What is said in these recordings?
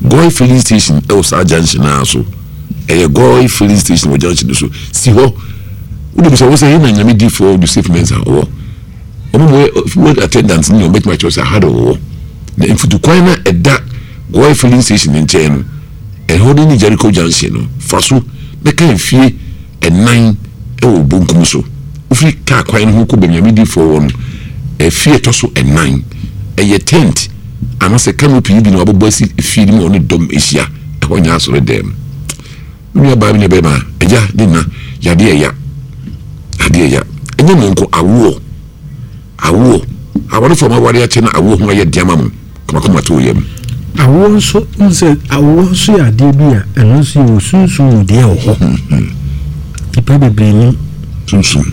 Goy filling station ɛwɔ saa junction naa so. Ɛyɛ Goy filling station wɔ junction no so. Si hɔ. Wode bisa wo sɛ yɛ na Nyame difoɔ Joseph Mensah ɔwɔ. Wɔn mu yɛ fuel attendant ne wɔn bɛtumi akyerɛ sɛ aha de wɔwɔ. Na mfutukwan na ɛda Goy filling station ne nkyɛn no, ɛhɔ ne ne Jericho junction no, fa so na ka mfie ɛnan wɔ bonkum so. Wofiri kaa kwan no ho kɔ baabi Nyame difoɔ wɔ no, efie ɛtɔ so ɛnan. Ɛyɛ tent anaasɛ canopy bi na wɔabobɔ asi efie no mu a wɔne dɔm ahyia. Ɛhɔ nyɛ asɔredan mu. Me nua baa, me nua bɛrima, agya ne na, yadeɛ ɛya. Adeɛ ɛya. Ɛnyɛ mo nko, awoɔ. Awoɔ. Awarefoɔ a moaware akyɛ na awoɔ ho ayɛ den ama mo. Kɔmakɔma to wo yam. Awoɔ nso, wohu sɛ awoɔ nso yɛ adeɛ bi a ɛno nso yɛwɔ sunsum mu deɛ wɔ hɔ. Nnipa bebree nim. Sunsum.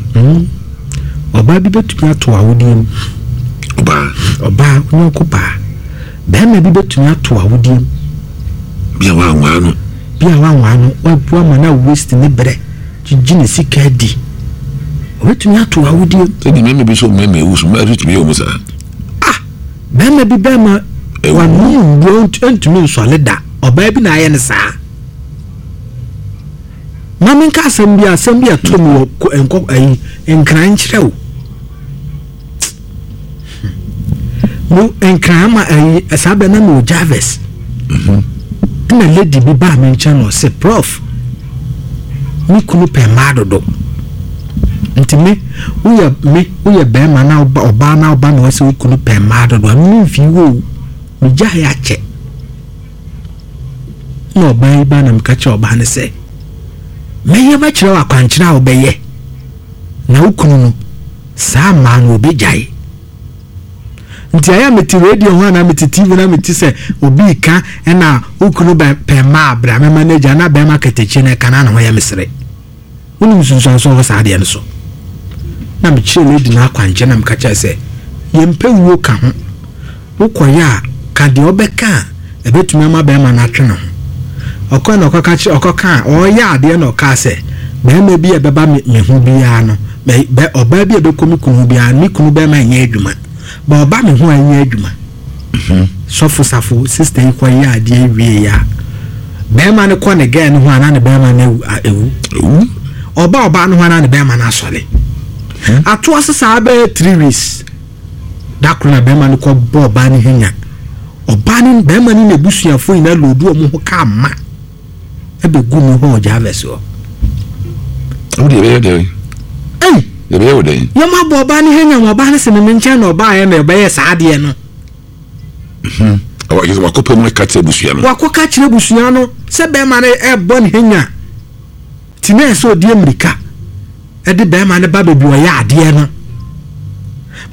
Ɔbaa bi bɛtumi ato awodeɛ mu. Ɔbaa. Ɔbaa, onyɔnko baa. Barima bi bɛtumi ato awodeɛ mu. Bi a wanwaa no. Bi a wanwaa no, wabu ama no a waste ne berɛ, gyegye ne sika adi. Ɔbɛtumi ato awodeɛ mu. Sɛdeɛ mmarima bi nso mmarima awu so, mmaa nso tumi yɛ wɔn saa. Ah! Barima bi bɛrima wanom nnuro ntumi nsɔle da. Ɔbaa bi na ayɛ no saa. Ma menka asɛm bi asɛm bi ɛto me wɔ nkɔ ayi nkran nkyerɛ wo. Mo nkran ama ayi saa bɛ na mewɔ Jarvis. Ɛna lady bi baa me nkyɛn na ɔse prof me kunu pɛ mmaa dodo. Nti me woyɛ me woyɛ bɛrima na ɔbaa na ɔba na ɔsɛ wo kunu pɛ mmaa dodo a me mfi wo o. Megyae akyɛ. Na ɔbaa yi ba na meka kyerɛ ɔbaa no sɛ mɛyɛ mɛkyerɛ wo akwankyerɛ a wobɛyɛ na wo kunu no saa mmaa no ɔbɛgyae. Nti ayɛ a mete radio ho anaa mete TV na mete sɛ obi reka ɛna wo kunu bɛ pɛ mmaa bra mɛma no agya na bɛrima katakyie no ɛka na ne ho yɛ me sere. Wonim nsunsuanso a ɛwɔ saa adeɛ no so? Na mekyerɛ lady no akwankyerɛ na meka kyerɛ sɛ yɛmpɛ wuo ka ho. Wokɔyɛ a, ka deɛ wobɛka a ɛbɛtumi ama barima no atwe ne ho. Ɔkɔe na ɔkɔka kyerɛ, ɔkɔka a, ɔreyɛ adeɛ na ɔkaa sɛ, barima bi a ɛbɛba me, me ho biara no, bɛ, bɛ, ɔbaa bi a ɛbɛkɔ me kunu ho biara no, me kunu bɛrima nyɛ adwuma. Ba ɔba me ho a ɛnyɛ adwuma. Sɔfo Safo, sista yi kɔyɛ adeɛ wieeɛ a, barima no kɔ ne gɛɛ no ho a na ne barima no awu. Awu. Ɔba ɔbaa no ho a na ne barima no asɔre. Atoa so saa bɛyɛ 3 weeks. Da koro na bɛrima no kɔ bɔ ɔbaa no ho nya. Ɔbaa no, bɛrima no n'abusuafoɔ nyinaa loodu wɔn ho kaa ma ɛbɛgu me hɔ wɔ Jarvis hɔ. Wo deɛ ɛbɛyɛ dɛn? Ei! Ɛbɛyɛ wo dɛn? Yɛn abɔ ɔbaa no ho nya ma ɔbaa no sɛ me me nkyɛn na ɔbaa yɛ na ɛbɛyɛ saa adeɛ no. Wakɔ pɛ mu ka kyerɛ abusua no. Wakɔ ka kyerɛ abusua no sɛ bɛrima no ɛbɔ ne ho nya. Ti na ɛsɛ ɔdi mmirika. de bɛrima no ba baabi ɔyɛ adeɛ no.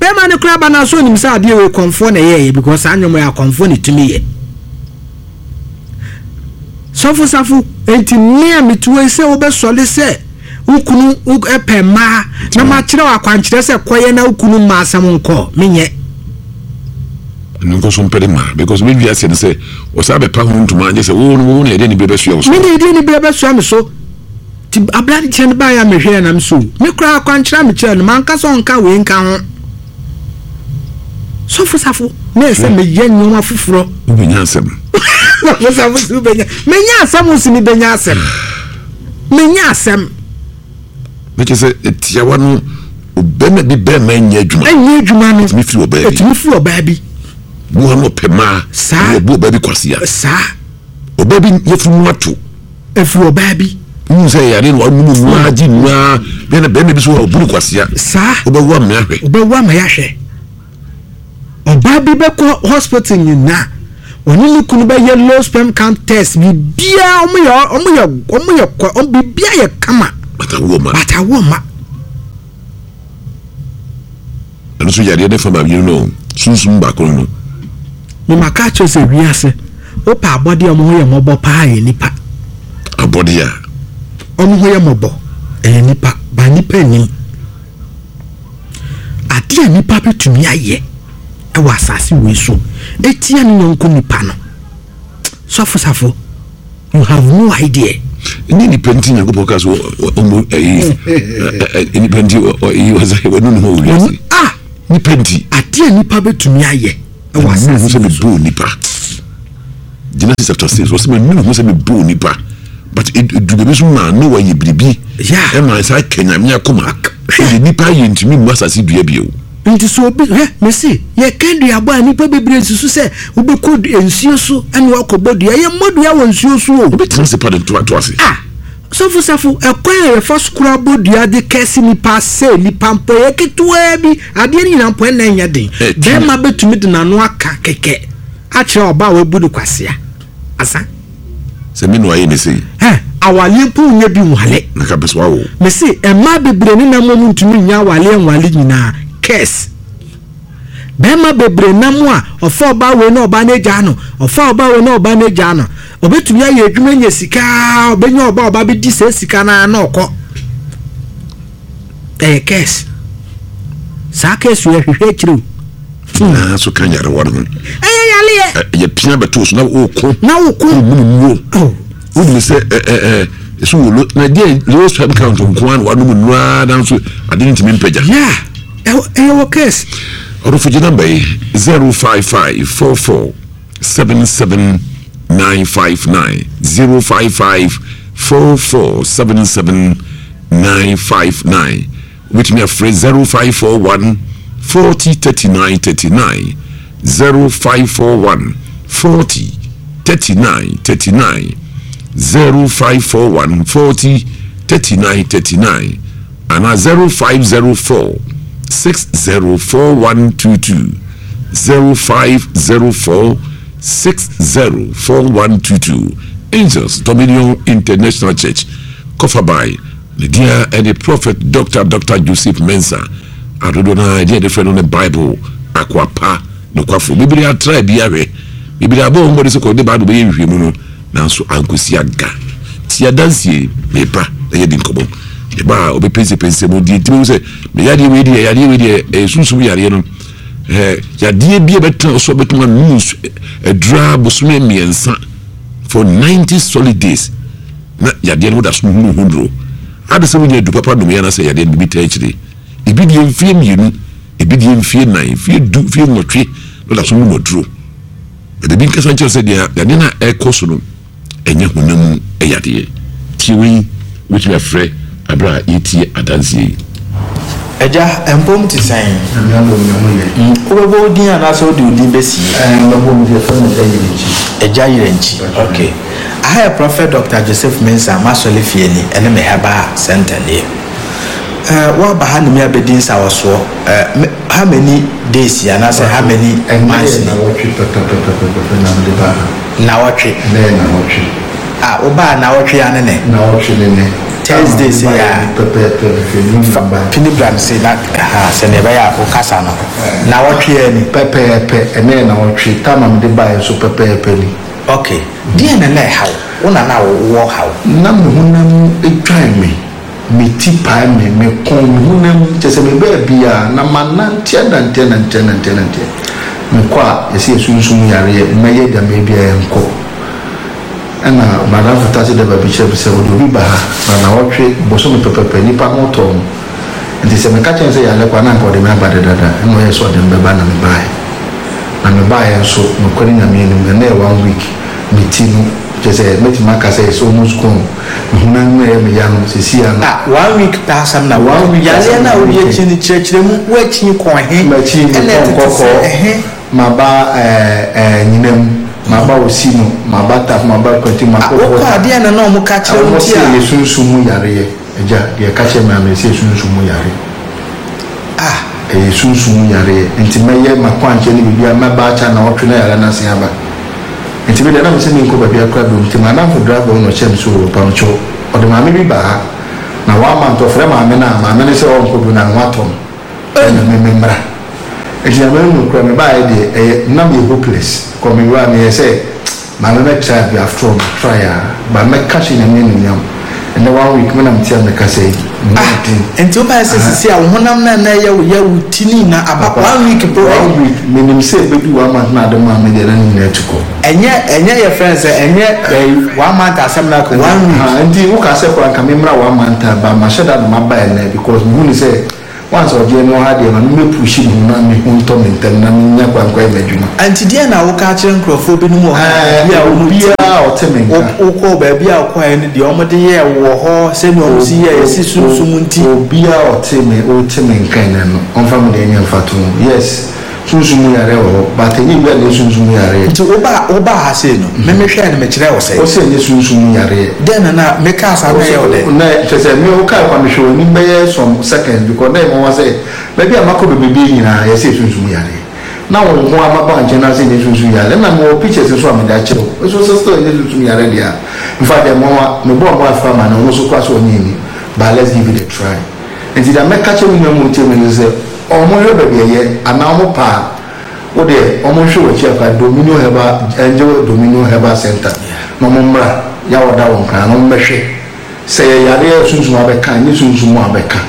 Bɛrima no koraa ba no aso onim sɛ adeɛ wei kɔmfoɔ na ɛyɛɛyɛ because saa nneɛma yɛ akɔmfoɔ na ɛtumi yɛ. Sɔfo Safo, enti me a mete hɔ yi sɛ wobɛsɔre sɛ wo kunu pɛ mmaa na makyerɛ wo akwankyerɛ sɛ kɔyɛ na wo kunu mma asɛm nkɔ, menyɛ. Ɛno nkɔ so mpɛ de ma because me wiase no sɛ ɔsan bɛpa ho ntoma anyɛ sɛ wo no wo na yɛde anibere bɛsoa wo so. Me na yɛde anibere bɛsoa me so. Nti aberanteɛ no baeɛ a mehwɛɛ na mesɛ o, me koraa akwankyerɛ a mekyerɛɛ no, manka sɛ ɔnka wei nka ho. Sɔfo Safo, na ɛsɛ meyɛ nneɛma foforɔ. Wobɛnya asɛm. Sɔfo Safo sɛ wobɛnya. Menya asɛm o sɛ mebɛnya asɛm. Menya asɛm. Na kyerɛ sɛ tiawa no, bɛrima bi bɛrima nyɛ adwuma. Ɛnyɛ adwuma no. Ɛtumi firi ɔbaa bi. Ɛtumi firi ɔbaa bi. Bu ano ɔpɛ maa. Saa. Ɔbu ɔbaa bi kwasia. Saa. Ɔbaa bi yɛfunu mu ato. Ɛfiri ɔbaa bi. Wohu sɛ yare no wanom mu ara gye mu ara bɛn na bɛrima bi so wɔ ɔbu no kwasea. Saa. Wobɛwo ama yɛahwɛ. Wobɛwo ama yɛahwɛ. Ɔbaa bi bɛkɔ hospital nyinaa ɔne ne kunu bɛyɛ low sperm count test biribiara wɔn yɛ wɔn yɛ wɔn yɛ kɔ biribiara yɛ kama. But awoɔ ma. But awoɔ ma. Ɛno nso yadeɛ ne fa ma mmienu no sunsum baako no. Me ma ka kyerɛ sɛ wiase wopɛ abɔdeɛ a wɔn ho yɛ mmɔbɔ paa yɛ nipa. Abɔdeɛ a. Wɔn ho yɛ mmɔbɔ ɛyɛ nipa ba nipa nim. Adeɛ a nipa bɛtumi ayɛ ɛwɔ asase wei so etia ne yɔnko nipa no. Sɔfo Safo you have no idea. Ɛnyɛ nipa nti Nyankopɔn ka so ɔmo ɛyi nipa nti ɔyi ɔsɛ wɔnu ne ho wɔ wiase. Ah! Nipa nti. Adeɛ a nipa bɛtumi ayɛ ɛwɔ asase so. Sɛ mebu nipa. Genesis chapter 6, ɔsɛ manu ho sɛ mebɔɔ nipa, but ɛdu baabi so maa Noah yɛ biribi ɛma saa ka Nyame akoma. Ɛde nipa yɛ ntumi mmu asase dua bio. Nti sɛ obi, hwɛ, mese, yɛka duabɔ a, nnipa bebree susu sɛ wobɛkɔ nsuo so ɛna wakɔbɔ dua. Yɛmmɔ dua wɔ nsuo so o. Wobɛtena ase pa de to ato ase. Ah, Sɔfo Safo, ɛkwan a yɛfa so koraa bɔ dua de kɛse nipa sɛ nipa mpo ɛyɛ ketewaa bi, adeɛ no nyinaa mpo ɛnna ɛnyɛ den. Bɛrima bɛtumi de n'ano aka kɛkɛ akyerɛ ɔbaa a wabu no kwasea. Asa. Sɛ me na wayɛ me sei. Hɛ, awaleɛ mpo wonyɛ bi nwale. Na ka pɛ sɛ wawo. Mese, mmaa bebree ne nam wɔn ntumi nyɛ awaleɛ nwale nyinaa. Curse. Bɛrima bebree nam a ɔfa ɔbaa wei na ɔbaa no agyaa no, ɔfa ɔbaa wei na ɔbaa no agyaa no. Ɔbɛtumi ayɛ adwuma anya sika, ɔbɛnya ɔbaa ɔbaa bɛdi saa sika no ara na ɔkɔ. Ɛyɛ curse. Saa curse yɛ hwehwɛ akyire o. Nyinaa so ka nyarewa no ho. Ɛyɛ yareɛ. Yɛ pia bɛto so na woko. Na woko. Wonum nnuro. Oh. Wonim sɛ ɛ ɛ ɛ so wɔ lo na deɛ low sperm count nko ara na wanom nnuro ara nanso ade no ntumi mpagya. Yeah. Ɛyɛ wɔ curse. Ɔdɔfo gye namba yi 055 44 77 959 055 44 77 959. Wobɛtumi afrɛ 0541 40 39 39, 0541 40 39 39, 0541 40 39 39 anaa 0504 604122, 0504 604122. Angels Dominion International Church, Kɔfabae. Ne din ara ne Prɔfɛt Dɔkta Dɔkta Joseph Mensah, a dodoɔ no ara din a yɛde frɛ no ne Bible Akoa Pa Nokwafo. Bebree atra bi ahwɛ, bebree abɔ wɔn mmɔden sɛ kɔde Bible bɛyɛ nhwehwɛmu no, nanso ankosi aga. Tie adanseɛ yi, meba na yɛadi nkɔmmɔ. Meba a, ɔbɛpɛnsɛpɛnsɛ mu deɛ nti bɛhu sɛ me yadeɛ wei deɛ, yadeɛ wei deɛ, ɛyɛ sunsum yareɛ no. Ɛɛ, yadeɛ bi a ɛbɛtena so a bɛtumi anom nsu aduru ara bosome mmiɛnsa for 90 solid days. Na yadeɛ no woda so hunu ho duro. Ade sɛ wonya adu papa nom yɛ anaasɛ yadeɛ no biribi taa akyire. Ebi deɛ mfeɛ mmienu, ebi deɛ mfeɛ nnan, mfeɛ du, mfeɛ nwɔtwe na woda so nom aduro. Na biribi nkasa nkyerɛ sɛ deɛ yadeɛ no a ɛrekɔ so no ɛnyɛ honam mu yadeɛ. Tie wei, wobɛtumi afrɛ aberɛ a yɛretie adanseɛ yi. Agya, mpom te sɛn? Nyame adom me ho yɛ. Wobɛbɔ wo din anaasɛ wode wo din bɛsie? Ɛɛ, mɛbɔ me din, yɛfrɛ me Agya Yerɛnkyi. Agya Yerɛnkyi, ok. Aha yɛ Prɔfɛt Dɔkta Joseph Mensah m'asɔre fie ni, ɛne me herbal center nie. Ɛɛ, woaba ha ne me abɛdi nsawɔsoɔ, ɛɛ, me, how many days yi anaasɛ how many Ɛnnɛ months yɛ ni? nnawɔtwe pɛpɛpɛpɛpɛ na mede baa ha. Nnawɔtwe. Ɛnnɛ yɛ nnawɔtwe. Ah, wobaa nnawɔtwe yi ara ne nɛ? Nnawɔtwe ne nɛ. Thursday sei a. Pɛpɛɛpɛ mefiri New Fa York bae. pini bra me sei na ha sɛnea ɛbɛyɛ a wo kasa no. Nnawɔtwe ara ni. Pɛpɛɛpɛ, ɛnnɛ yɛ nnawɔtwe, time a mede baeɛ nso pɛpɛɛpɛ ni. Ok, deɛn na na ɛha wo? Wo na na wowɔ haw? Na me honam twan me, me ti pae me, me kɔn, me honam, kyerɛ sɛ me baabiara, na manante anante anante anante anante. Mekɔ a, yɛse yɛ sunsum yareɛ, mɛyɛ deɛ mɛyɛ biara ɛnkɔ. Ɛna m'adamfo taxi driver bi kyerɛ me sɛ ɔde obi ba ha na nawɔtwe bosome pɛpɛpɛ nipa ho tɔɔ no nti sɛ meka kyerɛ no sɛ yare koraa na anka ɔde me aba dedada ɛna ɔyɛɛ sɛ ɔde me bɛba na mebaeɛ na mebaeɛ nso nokorɛ Nyame anim ɛnɛ yɛ one week me ti no kyerɛ sɛ mɛtumi aka sɛ it's almost gone me honam mu ɛyɛ me ya no seesei ano. Ah one week pɛ asɛm na One week yareɛ asɛm no na a wode meka yi. akyi no kyerɛkyerɛ mu woakyi kɔɔ he Makyi ɛna mekɔ ɛtete sɛ nkɔkɔɔ. ɛhe. Maba eh Nyinam, maba Osino, maba Taf, maba Kwati, Ah, makɔ wokɔ Volta. a deɛn na na wɔn ka kyerɛ wo Wɔn nti se a. yɛ sunsum mu yareɛ. Agya, deɛ ɛka kyerɛ me ara me se yɛ sunsum mu yare. Ah. Ɛyɛ sunsum mu yareɛ. Nti mɛyɛ m'akwankyerɛ ne biribiara, mɛba akyɛ anawɔtwe na yareɛ no asen aba. Nti me deɛ na me se menkɔ baabiara koraa biom. Nti m'adamfo driver no na ɔkyerɛ me sɛ oo mpamokyɛw, ɔde maame bi ba ha. Na one month ɔfrɛ maame no a, maame no sɛ ɔnkɔ bio na ne ho atɔ no. Ɛna me me mmra. Nti Nyame no nokorɛ me baeɛ deɛ ɛyɛ na meyɛ hopeless kɔ me wura meyɛ sɛ maame mɛ try bi after all ma try aa but mɛ ka hyɛ Nyame anuonyam ɛnɛ one week me na me te a me kasa yi me ho Ah den nti wo baeɛ sɛ aha. sisi a wo honam no a na ɛyɛ wo ya wo ti ne nyinaa aba Papa one week pɛ one week me nim sɛ ɛbɛdu one month na ade maa me deɛ na ne nyinaa atu kɔ. Ɛnyɛ ɛnyɛ yɛ frɛ no sɛ ɛnyɛ ɛyi one month asɛm na aka one week. Aha nti wo kaa sɛ koraa nka me mmra one month a but mahyɛ da na maba ɛnɛ because me hu ne sɛ. Once ɔgyeɛ me wɔ ha deɛ ma me mɛ pushi me ho na me ho ntɔ me ntɛm na me nya kwan nkɔyɛ m'adwuma. Nti deɛn na woka akyerɛ nkurɔfoɔ binom wɔ ha a baabi a wɔn ti Obiara a ɔte me nka. Wokɔɔ baabi a wokɔeɛ no deɛ wɔde yɛɛ wo wɔ hɔ sɛdeɛ wɔn si yɛɛ yɛse sunsum nti. Obiara a ɔte me wote me nka ɛnɛ no ɔmfa me deɛ nyɛ mfatoho. Yes. Sunsum mu yareɛ wɔ hɔ but ɛnyɛ obiara na ɛyɛ sunsum mu yareɛ. Nti wobaa wobaa ha sei no me me hwɛɛ no me kyerɛɛ wo sɛn? Wose ɛnyɛ sunsum mu yareɛ. Dɛn na na me kaa saa na ɛyɛ wo dɛ? Na kyerɛ sɛ me wokae kwa me hwɛ w'anim bɛyɛ some seconds because na ɛyɛ nwanwa sɛ baabi a makɔ bebrebe yi nyinaa yɛse ɛyɛ sunsum mu yareɛ na wo nko ara maba wo nkyɛn na wose ɛnyɛ sunsum yareɛ ɛna mewɔ pictures nso a mede akyerɛ wo nso wose still ɛnyɛ sunsum yareɛ deɛ a infact ɛyɛ nwanwa mebɔɔ me wife amanneɛ ɔno nso koraa sɛ ɔnyɛ nni but let's give it a try. Nti deɛ mɛka kyerɛ me nua mu ɔtie me ne sɛ ɔmo nhwɛ baabi ɛyɛ anaa ɔmo pɛ a wo deɛ ɔmo nhwɛ w'akyi akora Dominion Herbal Angel Dominion Herbal Center na ɔmo mmra Yawoda wɔ Nkran na ɔmo mmɛhwɛ sɛ ɛyɛ yareɛ a sunsum abɛka ɛnyɛ sunsum mu abɛka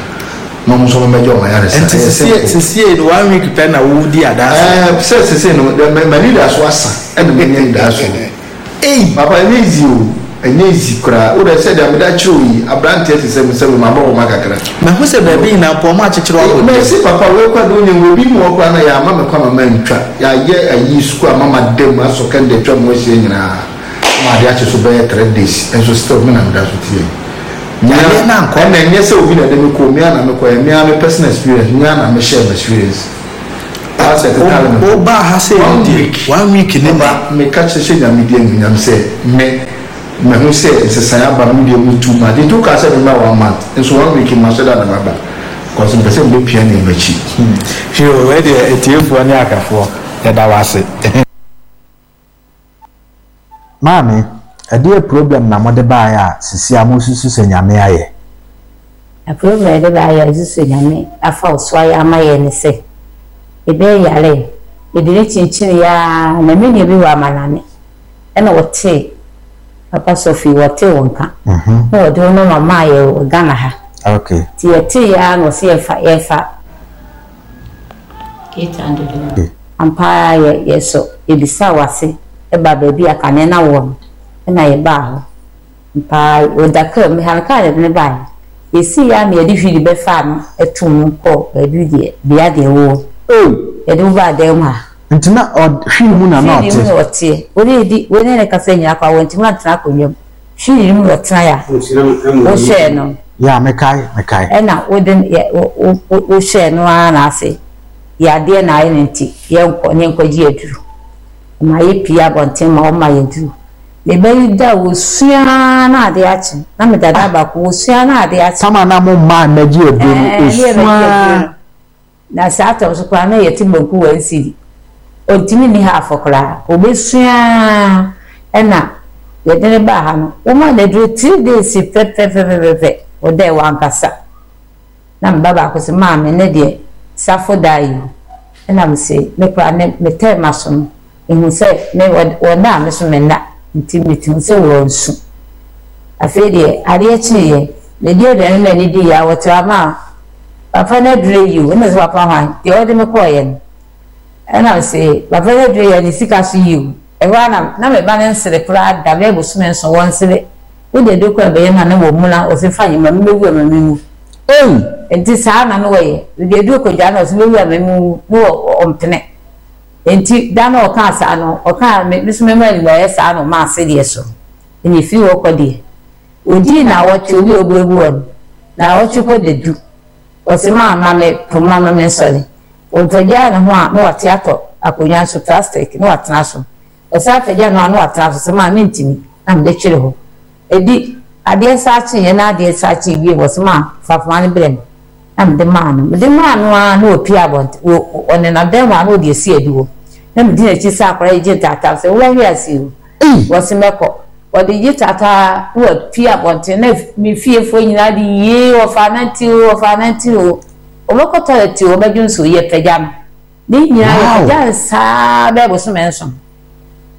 na ɔmo nso ɔmo mmɛgye ɔmo ayaresa Nti ɛyɛ sesie simple. sesie no one week pɛ na wo di adanseɛ? Ɛɛ sɛ sesei no deɛ m'anidasoɔ asa ɛna manya anidasoɔ. Ei! Papa ɛnyɛ easy o, ɛnyɛ easy koraa. Wo deɛ sɛdeɛ mede akyerɛ wo yi, abranteɛ te sɛ me sɛ me mabɔ homa kakra. Mahu sɛ baabi nyinaa mpo ɔmo akyekyere wo abɔ dua. Mercy papa wei koraa deɛ wonim wɔ ebi mu hɔ koraa na yɛama me kwan ma mantwa, yɛayɛ ayi sukuu ama mada mu asɔ kɛndɛ atwa me ho ahyia nyinaa ma adeɛ akye so bɛyɛ 3 days nso still me na meda so te yɛ. Me Yareɛ ara no ankɔ. ɛna ɛnyɛ sɛ obi na ɛde me kɔ o, me ara na mekɔeɛ, me ara me personal experience, me ara na me share m'experience. Wo baa ha sei no deɛ one week ne nɛ. Papa meka kyerɛ hyɛ Nyame din anuonyam sɛ me mahu sɛ nsesaeɛ aba me deɛ mu too much nti wokaa sɛ memmra one month nso one week no mahyɛ da na maba cause mepɛ sɛ mebɛpia nneɛma akyi. Yoo wei deɛ atiefoɔ ne ahwɛfoɔ yɛda wo ase. Maame, ɛdeɛ problem na mode baeɛ a sisi a mosusu sɛ Nyame ayɛ? Na problem a yɛde baeɛ a yɛsusu sɛ Nyame afa wo so ayɛ ama yɛn ne sɛ, yɛbɛyɛ yaree, yɛde no kyinkyiniiɛ ara na me nua bi wɔ amanane ɛna ɔtee papa sɔfo yi, ɔtee wo nka na ɔde wo nɔma maa yɛn wɔ Ghana ha. Nti yɛteeɛ ara na ɔse yɛmfa yɛmfa 800 no. Ampa ara yɛ yɛsɔ yɛbisaa w'ase baa baabi a kane na wowɔ no ɛna yɛbaa hɔ. Ampa ara ɔda kaa mu, mehare no kaa na yɛde no baeɛ. Yɛsii ara na yɛde hwili bɛfaa no too mu kɔɔ baabi deɛ bea deɛ wowɔ. Yɛde wo baa dan mu ha. Nti na ɔ hwili mu na na Hwili mu ɔte? na ɔteɛ. Wo ne yɛdi wo ne no kasa nyinaa koraa wantumi antena akonnwa mu. Hwili no mu na ɔtenaeɛ a wohwɛɛ no. Yeah, mekae, mekae. Ɛna wode no yɛ wo wo wohwɛɛ no ara na ase yadeɛ na ayɛ no nti yɛnkɔ na yɛnkɔgye aduru. Ɔma yɛpue abɔnten ma ɔma yɛn aduru. Me ba yi da a ɔsua ara na adeɛ akye. Na me dada baako, ɔsua ara na adeɛ akye. Tam a na mo mmaa mmɛgye aduro no, Ɛɛ, ne ɔsua yɛbɛgye aduro ara. no. Na saa tɔm so koraa na yɛte banku one cedi. Ɔntumi nni half koraa. Ɔbɛsua ara ɛna yɛde no baa ha no, wɔmaa no aduro 3 days pɛpɛpɛpɛpɛ, ɔdae wankasa. Na me ba baako se, Maame, nnɛ deɛ Safo daa yi o. Ɛna me se, me koraa ne metɛɛ m'aso no, mehu sɛ me wɔnna a me so menna, nti mehu sɛ wɔnsu. Afei deɛ adeɛ kyeeɛ, medi aduane na ani diiɛ a, wɔte hɔ ama papa no aduro yi o. Ɛna ɔse, papa hwan? Deɛ ɔde me kɔeɛ no. Ɛna ɔse, papa no aduro yi a ne sika so yi o. Ɛhɔ ara na na me ba no nsere koraa da, bɛyɛ bosome nson, wɔnsere. Wode aduro koraa bɛyɛ no a na wɔmuna, ɔse fa nyɛ ma me mɛwu a ma menwu. Ei! Nti saa na na wɔyɛ. Mede aduro kɔgyaa no a ɔse mɛwu a ma menwu, na ɔmpene. Nti da no a ɔkaa saa no, ɔkaa me nso mɛma animuayɛ saa na ɔmaa sedeɛ so. Ɛna ɛfiri hɔ kɔ deɛ, ɔdii naawɔtwe, obi a ɔbuebue hɔ no, naawɔtwe kɔ dadu. Ɔse maa ma me poma ma mensɔre. Ɔpagyaa ne ho a na wate atɔ akonnwa so, plastic, na watena so. Ɔsan pagya ne ho a na watena so, sɛ maa mentumi na mede twere hɔ. Ɛdi adeɛ saa kyeeɛ na adeɛ saa kyee bio, ɔse maa fa poma no brɛ me na mede maa no. Mede maa no ara na ɔpue abɔnten, ɔnenam dan mu a na ɔde asi adiwo. Na medi n'akyi sɛ akwadaa yi gye ntaataa sɛ wobɛhwe ase o. Ɔse mɛkɔ. Ɔde gye taataa na wapue abɔnten na me fiefoɔ nyinaa de yee ɔfaa nante o, ɔfaa nante o. Ɔbɛkɔ toilet o, ɔbɛdwo nso o, yɛpagya no. Ne nyinaa yɛpagya no saa bɛyɛ bosome nson.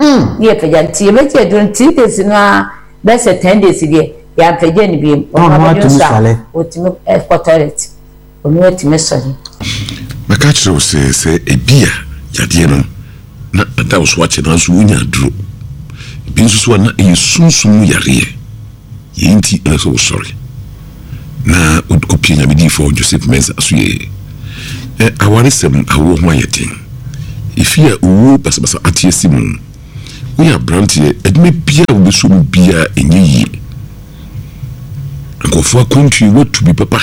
Ne yɛpagya no nti yɛbɛgye aduro no 3 days no ara bɛyɛ sɛ 10 days deɛ yɛampagya no bio. Ɔno abɛdwo nso a ɔtumi kɔ toilet, ɔno atumi sɔre. Mɛka akyerɛ wo sɛ, sɛ ebia yadeɛ no na ada wo so akyɛ nanso wonya aduro. Ebi nso so a na ɛyɛ sunsum mu yareɛ. Yei nti ɛsɛ sɛ wosɔre. Na wokɔpie Nyame diyifoɔ Joseph Mensah so yie. Ɛ awaresɛm awoɔ ho ayɛ den. Efie a owuo basabasa ate asi mu. Woyɛ abranteɛ, adwuma biara a wobɛsɔ mu biara ɛnyɛ yie. Nkurɔfoɔ akwantuo woatu bi papa.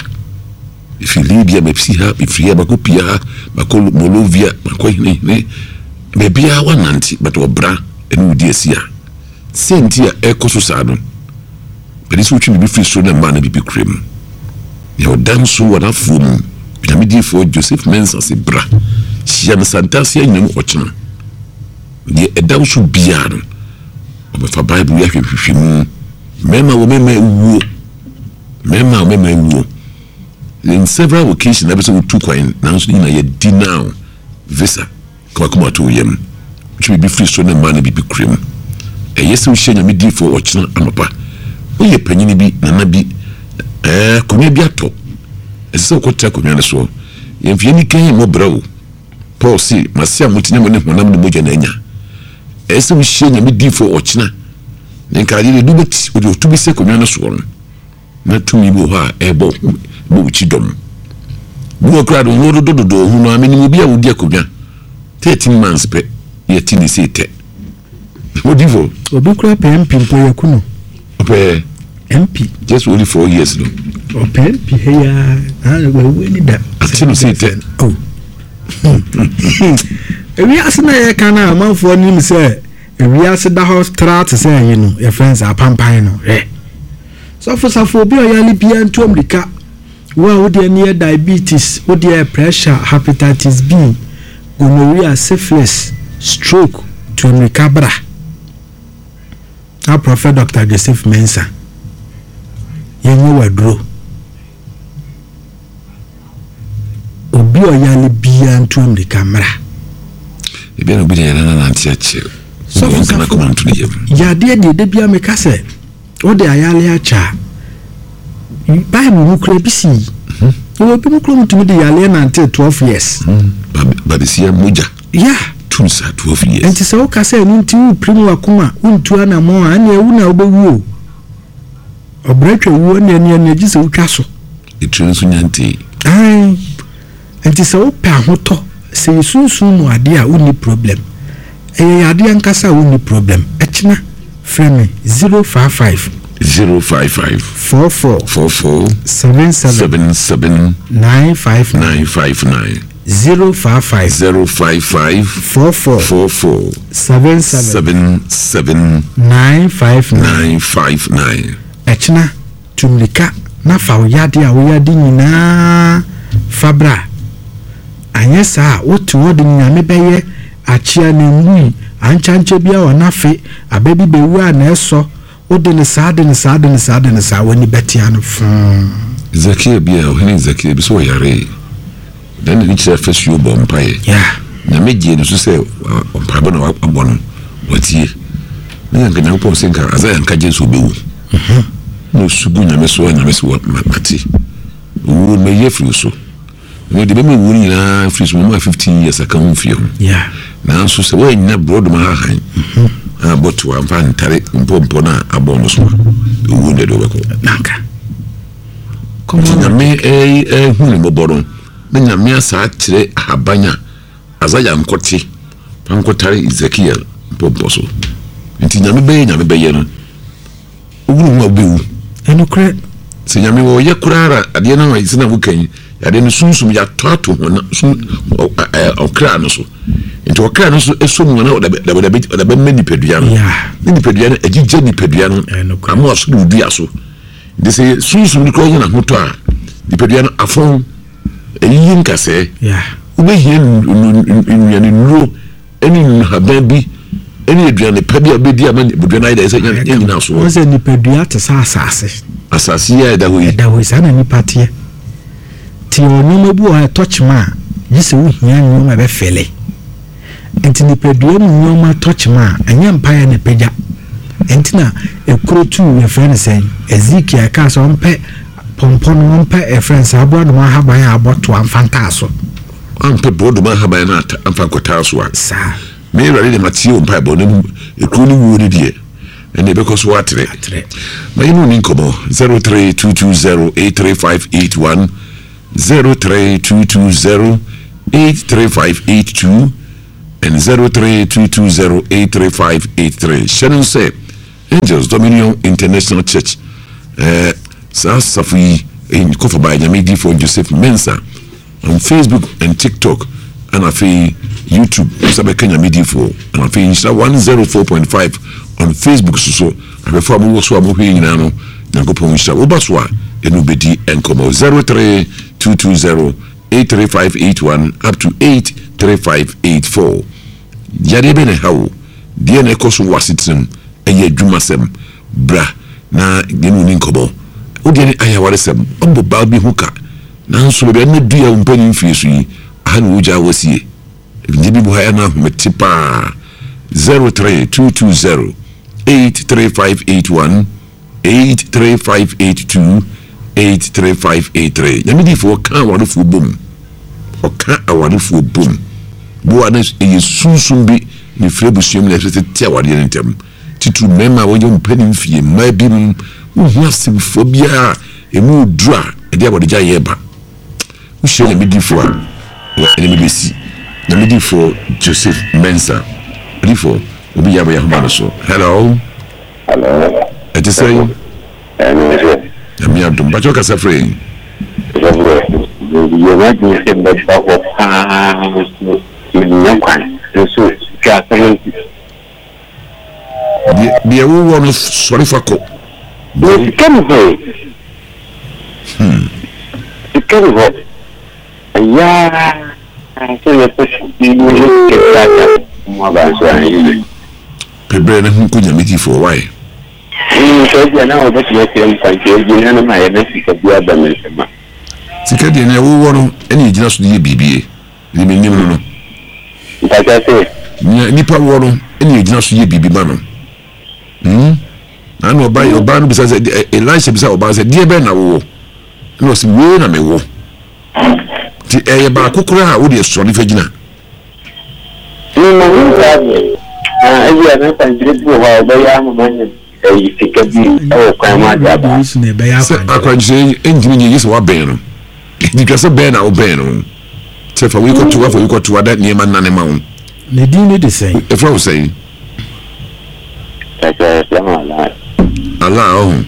Mefiri Libya mɛsi ha, mefiri ha makɔ pia ha, makɔ Molovia, makɔ henehene. Baabiara woanante but ɔbra ɛne wo di asi a. Sɛ nti a ɛkɔ so saa no, Pɛde sɛ wotwe biribi firi soro na mmaa no biribi kura mu. Nea ɔda nso wɔ n'afoɔ mu, Onyame diyifoɔ Joseph Mensah se bra, hyia me Santase anyina mu ɔkyena. Deɛ ɛda wo so biara no, ɔbɛfa Bible yi ahwɛ nhwehwɛmu. Mmarima wɔ mmarima awuo, mmarima wɔ mmarima awuo. In several occasions, na bɛ sɛ wotu kwan, nanso ne nyinaa yɛ deny visa. Ka w'akoma to wo yam. Twe biribi firi soro na mma no biribi kura mu. Ɛyɛ sɛ wohyia Nyame diyifoɔ ɔkyena anɔpa. Woyɛ panyini bi, nana bi, ɛɛ, akonnwa bi atɔ. Ɛsɛ sɛ wokɔtra akonnwa no soɔ. Yɛmfa yɛn ani kann mmɔ bra o. Paul se, Mase a mote ne mo ne honam ne mogya na anya. Ɛyɛ sɛ wohyia Nyame diyifoɔ ɔkyena. Ne nkaeɛ no, edu bɛti, ɔde ɔto bi si akonnwa no soɔ no. Na tumi bi wɔ hɔ a ɛrebɔ wo bɔ wo kyidɔm. Bi wɔ koraa de wo ho dodɔdodɔ wo ho no ara. Menim obi a ɔdi akonnwa 13 months pɛ na yɛte ne sei tɛ. Odifo. Obi koraa pɛ MP mpo yɛku no. Ɔpɛ MP. Just only 4 years no. Ɔpɛ MP ha yi ara wawu ani da. Ate no sei tɛ. Oh. Ewiase na yɛka no a amanfoɔ nim sɛ ewiase da hɔ tra te sɛ ɛyi no yɛfrɛ no sɛ apampan no hwɛ. Sɔfo safo obi a ɔyare biara ntu mmirika. Wo a wo deɛ no yɛ diabetes, wo deɛ yɛ pressure, hepatitis B, gonorrhea, syphilis, stroke, tu mmirika bra. Na Prophet Doctor Joseph Mensah, yɛnyɛ w'aduro. Obi a ɔyare biara ntu mmirika mmra. Ebi na obi deɛ yɛn nante akyɛ. Sɔfo safo, yadeɛ deɛ da biara meka sɛ. Wode ayare akyɛ a, Bible mu kura bi sii. Yɛwɔ bi mu kura mu tumi de yareɛ nante 12 years. Babesia mogya. Yeah. Tum saa 12 years. Nti sɛ woka sɛ ɛno nti wopirim wakoma wontu anammɔn a ɛneɛ wo na wobɛwu o. Ɔbrɛ twa wuo ɛneɛ neɛ neɛ gye sɛ wotwa so. Etire nso nya ntee. Ae. Nti sɛ wopɛ ahotɔ, sɛ yɛ sunsum mu adeɛ a wonni problem. Ɛyɛ yadeɛ ankasa a wonni problem. Ɛkyena frɛ me 055. 055. 44. 44. 77. 77. 959. 959. 055. 055. 44. 44. 77. 77. 959. 959. Ɛkyena. Tu mmirika na fa wo yadeɛ a woyade nyinaa fa bra. Anyɛ saa a, wote hɔ de Nyame bɛyɛ akyea na nwui, ankyankyɛ biara wɔ n'afe, aba bi bɛwu a na ɛsɔ, wode no saa, de no saa, de no saa, de no saa, w'ani bɛte ano foo. Zakia bi a, ɔhene Zakia bi sɛ ɔyaree. Ɔdan n'ani kyerɛɛ afasuo bɔɔ mpaeɛ. Nyame gyee no so sɛ mpaebɔ na wabɔ no, watie. Na anka Nyankopɔn se nka Isaiah nka gye sɛ ɔbɛwu. Na ɔsu gu Nyame so a Nyame se mate. Owuo no mayi afiri wo so. Ɛno deɛ bɛma owuo no nyinaa afiri so, mama 15 years aka ho mfie ho. Nanso sɛ woannya borɔdoma hahan a bɔto a mfa ntare mpɔmpɔ no a abɔ no so a, owuo no deɛ de wobɛkɔ. Nti Nyame hu ne mmɔbɔ no, na Nyame asa akyerɛ ahaban a Isaiah nkɔte fa nkɔtare Ezekiel mpɔmpɔ so. Nti Nyame bɛyɛ Nyame bɛyɛ no, wohunu ho a wobɛwu. Ɛnokorɛ. Sɛ Nyame ɔyɛ koraa ara adeɛ no a sɛ na woka yi, adeɛ no sunsum yɛatɔ ato ho na sun ɔkra no so. Nti ɔkra no so ɛsɔ mu na ɔde bɛma nipadua no. Ne nipadua no agyigya nipadua no ama ɔso de odua so. Nti sɛ sunsum no koraa nya n'ahotɔ a, nipadua no afɔn, ɛyiyi nkasɛɛ. Wobɛhia nnuanennuro ne nnuhaban bi ne aduane pa bi a wobɛdi ama nipadua no ayɛ dɛ sɛ nyina soɔ. Wɔn sɛ nipadua te sɛ asase. Asase yi a ɛda hɔ yi. Ɛda hɔ yi, saa na nipa teɛ. Te wɔ nneɛma bi wɔ hɔ a ɛtɔ kyema a, gye sɛ wohia nneɛma a ɛbɛfɛle. Enti nipadua mu nneɛma tɔ kyema a, ɛnyɛ mpaeɛ na ɛpagya. Ɛnti na ekuro tuu yɛfrɛ no sɛn, Ezekiel ɛkaa sɛ ɔmpɛ pɔmpɔ no, ɔmpɛ yɛfrɛ no sɛ aborɔdoma ahaban a abɔ toa mfa ntaa so. Ɔmpɛ borɔdoma ahaban no ata mfa nkɔtaa so a. Saa. Me Awurade deɛ matie wo mpaebɔ, na mmom ekuro no wuo no deɛ. Ɛnna ɛbɛkɔ so atrɛ. Ma yɛne wo ni nkɔmmɔ 03220 83581 03220 83582 and 03220 83583. Hyɛ no sɛ Angels Dominion International Church eh, saa asafo yi eh, kɔfa by Nyame difoɔ Joseph Mensah on Facebook and TikTok ɛna afei YouTube nsa bɛka Nyame difoɔ ɛna afei Nhyira 104.5 on Facebook so so ahwɛfoɔ a mowɔ so a mohwɛ nyinaa no Nyankopɔn nhyira woba so a ɛne wobɛdi nkɔmmɔ 03220 83581 up to 83584 Yadeɛ bɛn na ɛha wo? Deɛn na ɛkɔ so wɔ w'asetenam? Ɛyɛ adwumasɛm? Bra na yɛne wo nni nkɔmmɔ. Wo deɛ ne ayɛ awaresɛm. Woabɔ baa bi ho ka, nanso baabi a nna du yi a wo mpanin mfie so yi, aha na wogyaa wo asie. Nneɛma bi wɔ ha a na ahomete paa. 03220 83581 83582 83583. Nyame difoɔ ɔka awarefoɔ bom. Ɔka awarefoɔ bom. Boa na ɛyɛ sunsum bi na ɛfiri abusua mu na ɛsɛ tete awareɛ no ntɛm. Titiriw mmarima a wɔyɛ mpanin mfie, mmaa binom, wohu asɛmfua biara a ɛmu duru a ɛde awaregyaeɛ ba. Wohyia Nyame difoɔ a, na ɛne me bɛsi. Nyame difoɔ Joseph Mensah. Odifoɔ, obi yɛ abɛyɛ ahoma no so. Hello. Hello. Ɛte sɛn? Nyame adom. Mpakyɛ ɔkasa frɛ yɛn. Meyɛ m'adwene sɛ mɛba hɔ paa nso mennya kwan nso hwɛ asɛm nti. Deɛ deɛ wowɔ no sɔre fa kɔ. Na sika ni hɔ e. Hmm. Sika ni hɔ. Ɛyɛ ara sɛ yɛpɛ bi ne sika bi aka mu aba nso anyɛ yie. Pɛ berɛ na ho kɔ Nyame difoɔ why? Hmm, sɛ ebia na wɔbɛtumi akyerɛ me kwan sɛ ebia na mayɛ na sika bi aba me nsam a. Sika deɛ nea wowɔ no ɛna ɛgyina so de yɛ biribi e. Deɛ menim no no. Mpakyɛ se. Nea nipa wɔ no ɛna ɛgyina so yɛ biribi ma no. Hmm? Na na ɔbaa ɔbaa no bisa sɛ Elisha bisa ɔbaa sɛ deɛ bɛn na wowɔ? Ɛna ɔsi wei na mewɔ. Nti ɛyɛ baako koraa a wode sɔre fa gyina. Me ma hu saa deɛ no. Na ebia na akwankyerɛ bi wɔ hɔ a wɔbɛyɛ ama manya ɛyi sika bi wɔ kwan mu ade aba. Sɛ akwankyerɛ yi ntumi nyɛ gye sɛ wabɛn no. Nti twa sɛ bɛn na wobɛn no. Sɛ fa wei kɔto fa wei kɔto ada nneɛma nnane ma wo. Ne din ne de sɛn? Ɛfrɛ wo sɛn? Ɛsɛ ɛfrɛ ho Allah. Allah ɔho.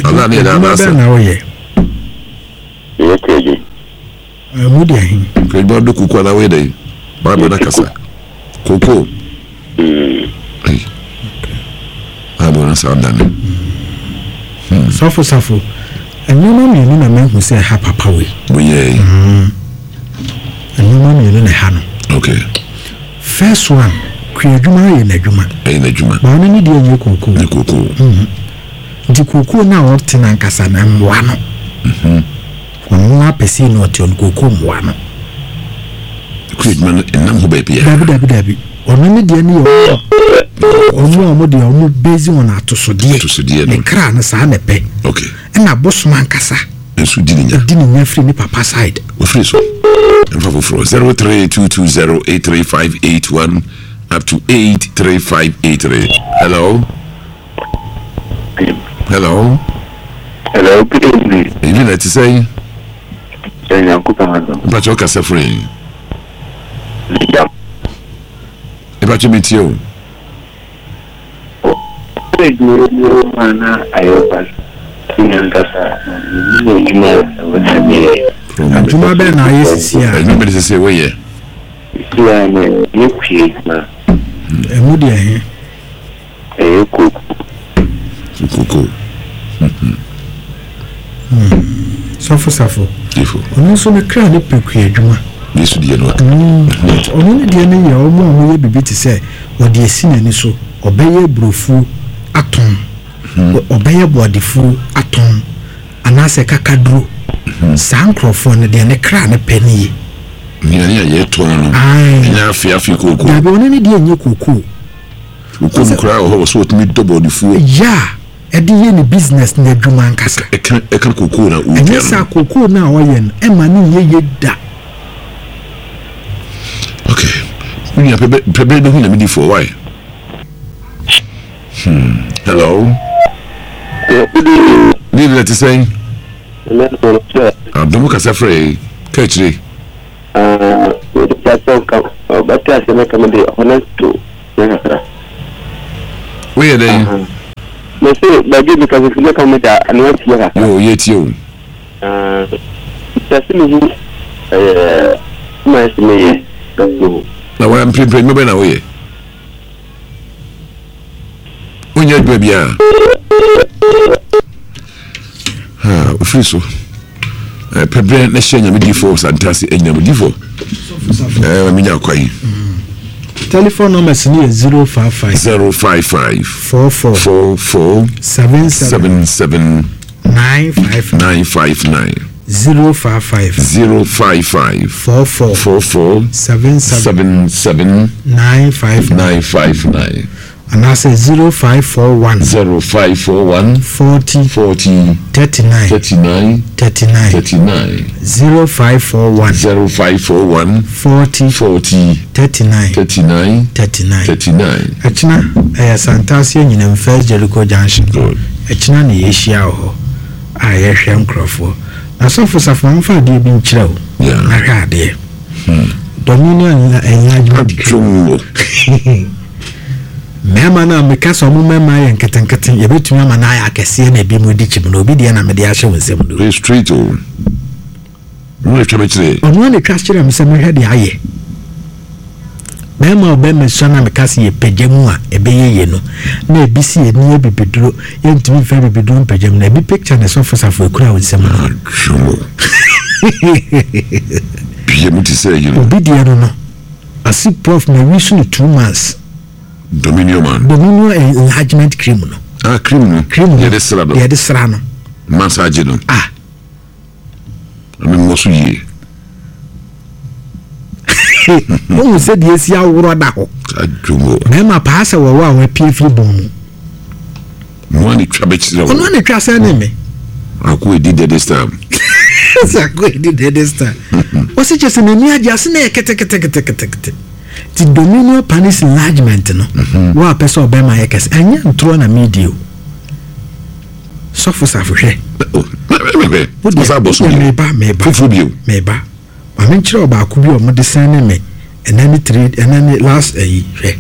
Allah ne yɛ dɛ Adwuma bɛn na woyɛ? Meyɛ kuadwuma. Ɛmu deɛ he? Kuadwuma do koko anaa woyɛ dɛn? Bible na kasa. Koko. Bible na saa dane. Hmm. Sɔfo safo, nneɛma mmienu na mahu sɛ ɛha papa wei. Woyɛ yi. Nneɛma mmienu na ɛha no. Okay. First one, kuadwuma yɛ n'adwuma. Ɛyɛ n'adwuma. Ba ɔno ne deɛ nyɛ kookoo. Nyɛ kookoo. Nti kookoo no a ɔte no ankasa no mmoa no. Ɔno ara pɛ sei na ɔte ɔno kookoo mmoa no. Kɔ adwuma no ɛnam hɔ baabi a. Dabi dabi dabi ɔno ne deɛ no yɛ ɔmo a ɔmo deɛ ɔmo base on atosodeɛ. Atosodeɛ no. Ne kra no saa na ɛpɛ. Okay. Ɛna abosom ankasa. Nso di ne nya. Di ne nya firi ne papa side. Ofiri so. Nfa foforɔ 03220 83581 up to 83583. Hello. Hello. Hello, good evening. Evening, ɛte sɛn? Sɛ Nyankopɔn adom. Mpakyɛ ɔkasa firi yi. Mpakyɛ mi tie o. Adwuma bɛn na ayɛ sisi a? Adwuma bɛn sisi a wɔyɛ? Sisi a na yɛ kua adwuma. Ɛmu deɛ he? Ɛyɛ koko. Koko. Sɔfo Safo. Ɔno nso ne kra ne pɛ kua adwuma. Yesu deɛ no. But ɔno ne deɛ no yɛ ɔmo a ɔmo yɛ biribi te sɛ ɔde asi n'ani so ɔbɛyɛ aburofuo atɔn ɔbɛyɛ bɔɔdefuo atɔn anaasɛ kakaduro saa nkorɔfoɔ no deɛ ne kra ne pɛ ne ye. Nnuane a yɛtɔn no ɛnyɛ afe afe kookoo. Dabi ɔno ne deɛ nyɛ kookoo. Wokɔ mu koraa wɔ hɔ wɔ sɛ wɔtumi dɔ bɔɔdefuo. Yeah, ɛde yɛ ne business ne adwuma ankasa. Ɛka ɛka kookoo na ɔdua no. Ɛnyɛ saa kookoo no a ɔyɛ no ɛma no nyɛ yie da. Okay, me nua pɛ bɛ pɛ bɛ bɛhu nyame difoɔ why? Hello. Ne deɛ te sɛn? Adom kasa frɛ yi ka akyire. Woyɛ dɛn? Mese baabi mi kasa fi mɛka mo da ano atie kakra. Yo yɛ tie o. Mepɛ sɛ mehu ɛyɛ ma ɛsɛ meyɛ. Na wɔn mprempren nnwuma bɛn na woyɛ? Wonyɛ adwuma biara. Ofiri so. Pɛ berɛ na hyɛ nyame difoɔ santase anyinam difoɔ. Menya kwan. Telephone numbers ni yɛ 055 055 44 44 77 77 959 959 055 055 44 44 77 77 959 959 anaasɛ 0541 0541 40 40 39 39 39 39 0541 0541 40 40 39 39 39. 39. Ɛkyena ɛyɛ Santase Anyinam First Jericho Junction. Good. Ɛkyena na yɛhyia wɔ hɔ a yɛhwɛ nkurɔfoɔ. Na sɔfo Safo ma mfa adeɛ bi nkyerɛ wo. Yeah. Na hwɛ adeɛ. Dominion Enlargement Cream. Adwom wɔ. Mmarima no a meka sɛ ɔmo mmarima yɛ nketenkete, yɛbɛtumi ama no ayɛ akɛseɛ na ebi mu di kyim no, obi deɛ na mede ahyɛ wo nsam no. Play straight o. Ɔno na ɛtwa me kyerɛ. Ɔno na ɛtwa kyerɛ me sɛ mehwɛ deɛ ayɛ. Bɛrima a ɔbɛrima sua na meka sɛ yɛpagya mu a ɛbɛyɛ yie no, na ebi si yɛni abibiduro, yɛntumi mfa abibiduro mpagya mu na ebi picture na ɛsɔfo safo ekura wo nsam no. Adwom o. Bie mu te sɛ yi no. Obi deɛ no no, ase prof ma wi so no 2 months. Dominion man. Dominion enlargement cream no. Ah, cream no. Cream no. Yɛde sra no. Yɛde sra no. Massage no. Ah. Ɛmi mmɔ so yie. Wohu sɛ deɛ esi aworɔ da hɔ. Adwom o. Mmarima paa sɛ wɔwɔ a wɔapue firi bɔn mu. Ɔno na etwa bɛkyerɛ wo. Ɔno na etwa sɛ ne me. Ako edi dead this time. Sɛ ako edi dead this time. Wɔsi kyɛ sɛ n'ani agye ase na yɛ keteketeketekete. Ti dominion panis enlargement no. Wo a pɛ sɛ ɔbɛma yɛ kɛse. Ɛnyɛ ntorɔ na mi di o. Sɔfo safo hwɛ. Wo deɛ meba meba. Fufuo bio. Meba. Maame nkyerɛ ɔbaako bi a wɔde sɛn ne me ɛnɛ ne three ɛnɛ ne last ɛyi hwɛ.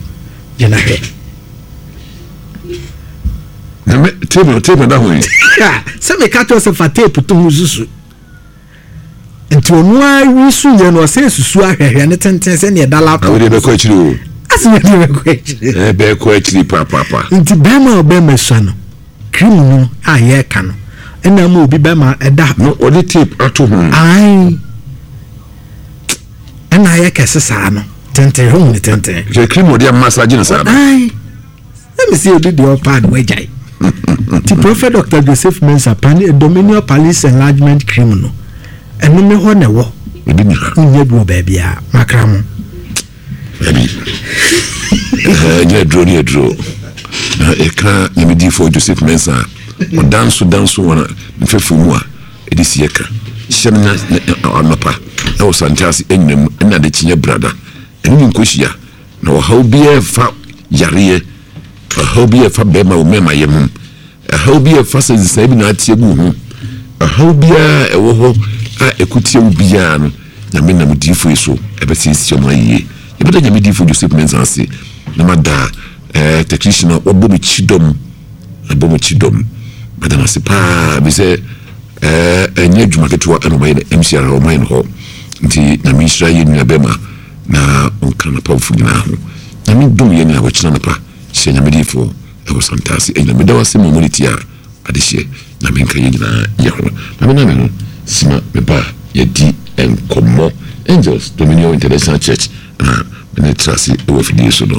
Gyina hwɛ. Na me tape tape da ho yi. Sɛ meka kyerɛ sɛ fa tape to ho susu. Nti ɔno ara wi so yɛ no ɔsɛ susu ahwɛhwɛ ne tenten sɛnea ɛda laptop. Na wode bɛkɔ akyiri o. Asɛ wode bɛkɔ akyiri. Ɛ bɛkɔ akyiri paapapa. Nti bɛrima a ɔbɛrima sua no cream no a yɛreka no ɛna ama obi bɛrima ɛda. No ɔde tape ato ho. Ayi ɛna ayɛ kɛse saa no tenten ho ne tenten. Sɛ cream ɔde ama sa gye ne saa no. Ayi. Ɛmi sɛ obi deɛ ɔpaa no wagyae. Nti Prophet Dr. Joseph Mensah pani Dominion Palace Enlargement Cream no ɛno me hɔ na ɛwɔ. Ebi ni ha. Wonya bi wɔ baabi a makra mo. Ɛbi. Ɛnyɛ aduro ne aduro. Na ɛka nyamedifoɔ Joseph Mensah ɔdanso danso wɔn mfɛfo mu a ɛde si ɛka. Hyɛ no na anɔpa ɛwɔ Santase anyinam ɛna ade kyenyɛ brada. Ɛne ne nkɔhyia. Na ɔhaw biara ɛfa yareɛ, ɔhaw bi a ɛfa bɛrima wɔ mmarima yɛ ho, ɛhaw bi a ɛfa sɛ nsae bi na ate agu ho, ɔhaw biara a ɛwɔ hɔ a ɛko tia wo biara no, Nyame nam diifo yi so ɛbɛsiesie ɔmo ayie. Yɛbɛda Nyame diifo Joseph Mensah ase na mada eh, technician a wabɔ me kyidɔm, abɔ me kyidɔm. Mada no ase paa, bi sɛ eh, ɛnyɛ adwuma ketewa ɛna ɔmayɛ no MCR ɔmayɛ no hɔ. Nti Nyame nhyira yɛn nua bɛrima na ɔnka n'apamfo nyinaa ho. Nyame dom yɛn a wɔkyena anɔpa hyɛ Nyame diyifoɔ ɛwɔ Santase anyina. Meda wo ase ma ɔmo ne tie a adehyeɛ. Nyame nka yɛn nyinaa yɛ ho. Na me na me ho sima me ba a yɛdi nkɔmmɔ. Angels Dominion International Church na me ne tra ase wɔ afidie so no.